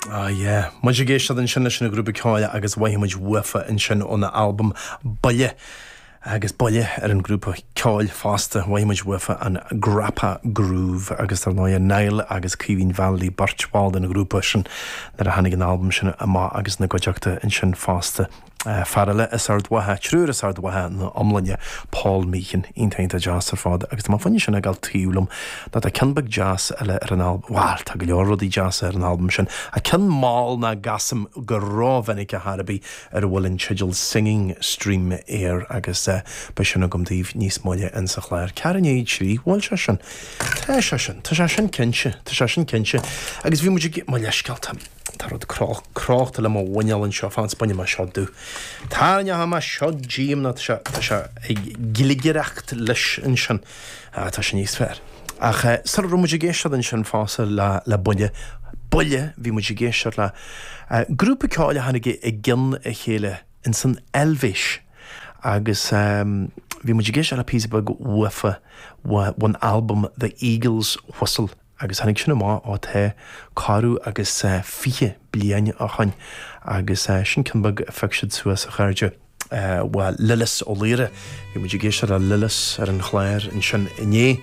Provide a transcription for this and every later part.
Ah yeah. Muid ag éisteacht ansin leis an ghrúpa ceoil agus mhothaigh muid uafa ansin óna albam Buile agus Buile ar an ghrúpa ceoil fosta. Mhothaigh muid uafa an Grappa Groove agus dar ndóigh Niall agus Caoimhín Vallely beirt bhall den ghrúpa sin nuair a tháinig an albam sin amach agus ina gcuideachta ansin fosta. Fear eile as Ard Mhacha, triúr as Ard Mhacha ina iomláine, Paul Meechan, iontach iontach deas ar fad agus tá mé fá choinne sin a fhágáil taobh liom nó tá ceann beag deas eile ar an albam, bhuel tá go leor rudaí deasa ar an albam sin, ach ceann mall nach gcasaim go rómhinic ar chor ar bith ar a bhfuil an teideal Singing Stream air agus beidh sin agam daoibh níos moille insa chlár. Ceathrú i ndiaidh a 3, bhfuil sé sin? Tá sé sin, tá sé sin cinnte, tá sé sin cinnte agus bhí muid ag, mo leithscéal, tá. Tá rud crochta le mo mhuineál anseo, fan 's bainfidh mé seo díom. Tarraingeoidh mé seo díom nó tá sé, tá sé ag gligireacht leis ansin. Ah, tá sé níos fearr. Ach sula raibh muid ag éisteacht ansin fosta le, le Buile, Buile, bhí muid ag éisteacht le grúpa ceoil a tháinig i gcionn a chéile ins an Eilvéis agus bhí muid ag éisteacht le píosa beag uafa ón albam The Eagle's Whistle. Agus tháinig sin amach, ó tá corradh agus 20 bliain ó shoin agus sin ceann beag a phioc siad suas, a chairde, bhuel, Lillis Ó Laoire. Bhí muid ag éisteacht le Lillis ar an chlár ansin inné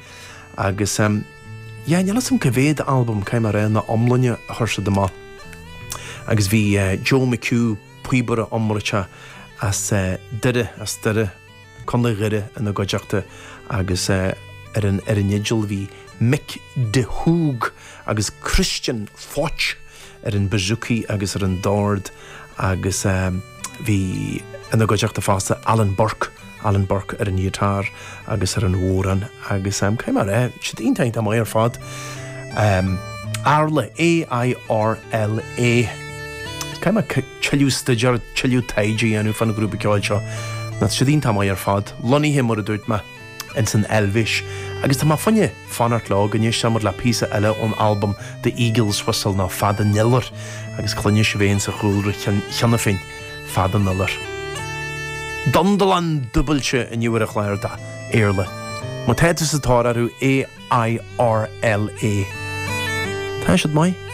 agus yeah, níl 'fhios a'm cá mhéad albam, caithfidh mé a rá, ina iomláine a chuir siad amach. Agus bhí Joe McHugh, píobaire iomráiteach as Doire, as Doire, Contae Dhoire ina gcuideachta agus ar an ar an fhidil bhí Mick de Hoog agus Christian Foch ar an bouzouki agus ar an dord agus bhí ina gcuideachta fosta Alan Burke, Alan Burke ar an ngiotár agus ar an bhodhrán agus caithfidh mé a rá, siad iontach iontach maith ar fad. Airla, A-I-R-L-A. Caithfidh mé tuilleadh staidéir, tuilleadh taighde a dhéanamh fán ghrúpa ceoil seo. Tá siad iontach maith ar fad. Lonnaithe, mar a dúirt mé, ins an Eilvéis. Agus tá mé fá choinne fanacht leo go n-éistfidh muid le píosa eile ón albam The Eagle's Whistle nó Fad an Iolair agus cluinfidh sibh é insa chúlra cheana féin, Fad an Iolair. Dundalán dúbailte inniu ar an chlár d'Airla. Má tá tú sa tóir orthu, A-I-R-L-A. Tá siad maith.